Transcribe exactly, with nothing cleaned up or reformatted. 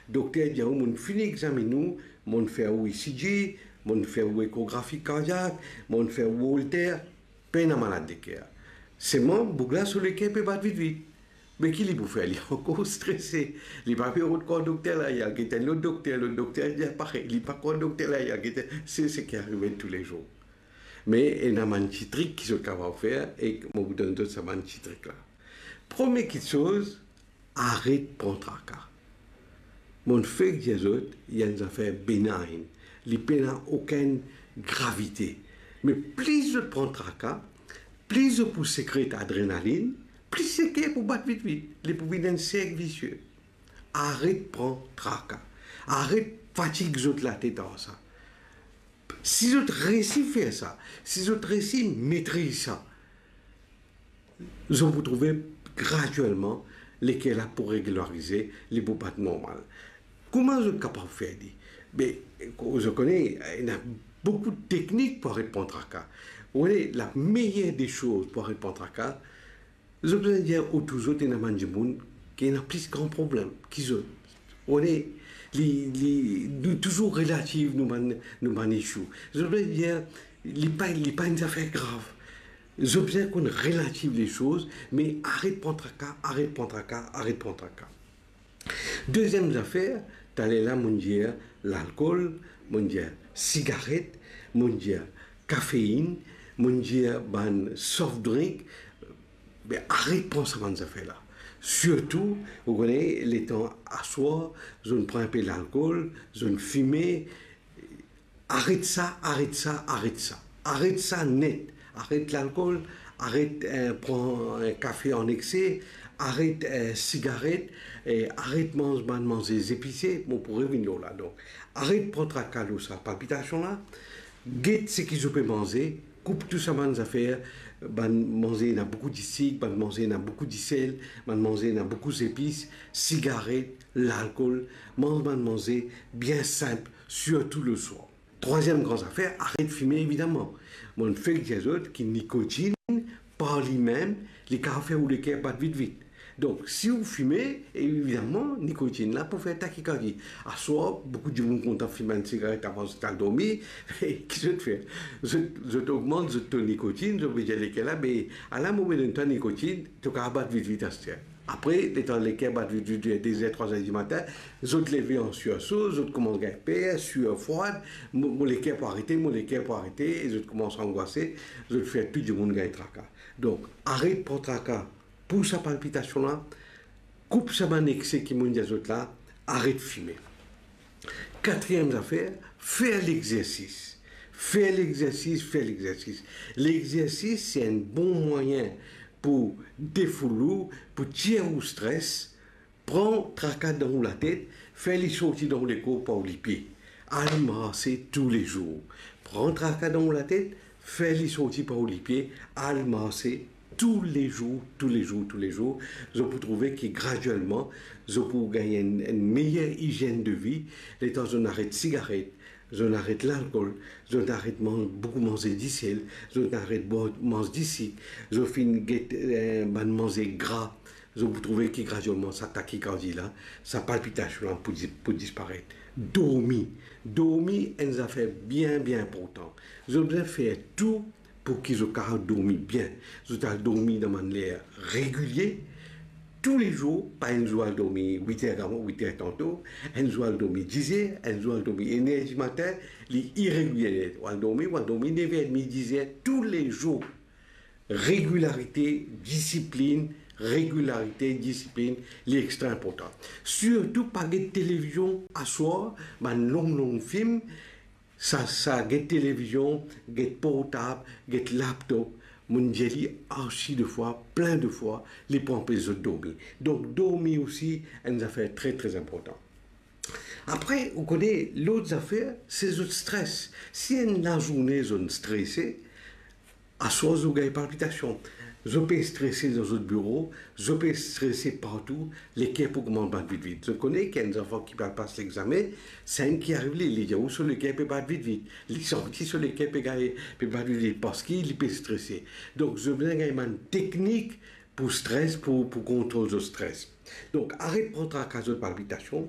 Dokter dir ou, mo'nn fini examinn ou, mo'nn fer ou ECG, mo'nn fer ou ekografi kardiak, mo'nn fer ou Holter, pena malad leker. Selman boug la so leker pe bat vit vit. Me ki li pou fer? Li ankor strese. Li pa pe rod kor dokter la, li al get enn lot dokter, lot dokter dir parey, li pa krwar dokter la, li al get enn, se seki ariv toulezour. Me ena bann ti trik ki zot kapav fer, ek mo pou donn zot sa bann ti trik la. Premie kiksoz, aret pran traka. Mo'nn fek dir zot, li enn zafer benign, li pena okenn gravite. Me plis zot pran traka, plis zot pou sekret adrenalinn, plis leker pou bat vit vit, li pou vinn enn serk visie. Aret pran traka. Aret fatig zot latet ar sa. Si zot resi fer sa, si zot resi metriz sa, zot pou trouve gradielman leker la pou reglarize, li pou bat normal. Kouma zot kapav fer li? Be, zot kone, ena boukou teknik pou aret pran traka. Ou kone, la meyer de soz pou aret pran traka, zot bizin dir otour zot ena bann dimoun ki ena plis gran problem ki zot. Ou kone, li, li, nou touzour relativ nou bann, nou bann issue. Zot bizin dir, li pa, li pa enn zafer grav. Zot bizin konn relativ lesoz, me aret pran traka, aret pran traka, aret pran traka. Deziem zafer, taler la mo'nn dir lalkol, mo'nn dir sigaret, mo'nn dir kafeinn, mo'nn dir bann soft drink, be aret pran sa bann zafer la. Sirtou, ou kone, letan aswar, zot pran inpe lalkol, zot fime, aret sa, aret sa, aret sa. Aret sa net. Aret lalkol, aret, eh, pran, eh, kafe an ekse, aret, eh, sigaret, eh, aret manz bann manze zepise, mo pou revinn lor la. Donk, aret pran traka lor sa palpitasion la. Get seki zot pe manze, koup tou sa bann zafer, bann manze ena boukou disik, bann manze ena boukou disel, bann manze ena boukou zepis, sigaret, lalkol, manz bann manze bien sinp, sirtou leswar. Trwaziem gran zafer, aret fime, evidaman. Mo'nn fek dir zot ki nikotinn, par limem, li kapav fer ou leker bat vit vit. Donk, si ou fime, evidaman, nikotinn la pou fer takikardi. Aswar, boukou dimoun kontan fim enn sigaret avan zot al dormi, ki zot fer? Zot, zot ogmant zot to nikotinn, zot pe dir leker la, be, ala mo pe donn twa nikotinn, to kapav bat vit vit aster. Apre, letan leker bat vit vit, de zer, trwa zer dimatin, zot leve an sirso, zot koumans gagn per, sir frwad, mo, mo leker pou arete, mo leker pou arete, e zot koumans angwase, zot fer tou dimoun gagn traka. Donk, aret pran traka pou sa palpitasion la, koup sa bann ekse ki mo'nn dir zot la, aret fime. Katriem zafer, fer lexersis. Fer lexersis, fer lexersis. Lexersis, se enn bon mwayin pou defoul ou, pou tir ou stres, pran traka dan ou latet, fer li sorti dan ou lekor par ou lipie. Al marse toulezour. Pran traka dan ou latet, fer li sorti par ou lipie, al marse toulezour, toulezour, toulezour. Zot pou trouve ki gradielman, zot pou gagn enn, enn meyer izienn de vi, letan zot aret sigaret, zot aret lalkol, zot aret manz, boukou manze disel, zot aret bwar, manz disik, zot finn get, eh, bann manze gra, zot pou trouve ki gradielman sa takikardi la, sa palpitasion la pou di-, pou disparet. Dormi. Dormi, enn zafer bien, bien inportan. Zot bizin fer tou pou ki zot kapav dormi bien. Zot al dormi dan bann ler regilie, toulezour, pa enn zour al dormi wit er, wit er tanto, enn zour al dormi diz er, enn zour al dormi enn er dimatin, li iregilie. Ou al dormi, ou al dormi nev er edmi, diz er, toulezour. Regilarite, disiplinn, regilarite, disiplinn, li extra inportan. Sirtou pa get televizion aswar, bann long, long fim, sa, sa get televizion, get portab, get laptop, mo'nn dir li arsi de fwa, plin de fwa, li pou anpes zot dormi. Donk, dormi osi, enn zafer tre, tre inportan. Apre, ou kone, lot zafer, se zot stres. Si enn lazourne zot strese, aswar zot gagn palpitasion. Zot pe strese dan zot biro, zot pe strese partou, leker pou koumans bat vit vit. Zot kone ki enn zanfan ki pe al pas lexame, sa enn ki ariv li, li dir ou so leker pe bat vit vit. Li santi so leker pe gagn, pe bat vit vit, parski li pe strese. Donk, zot bizin gagn bann teknik pou stres, pou, pou kontrol zot stres. Donk, aret pran traka zot palpitasion,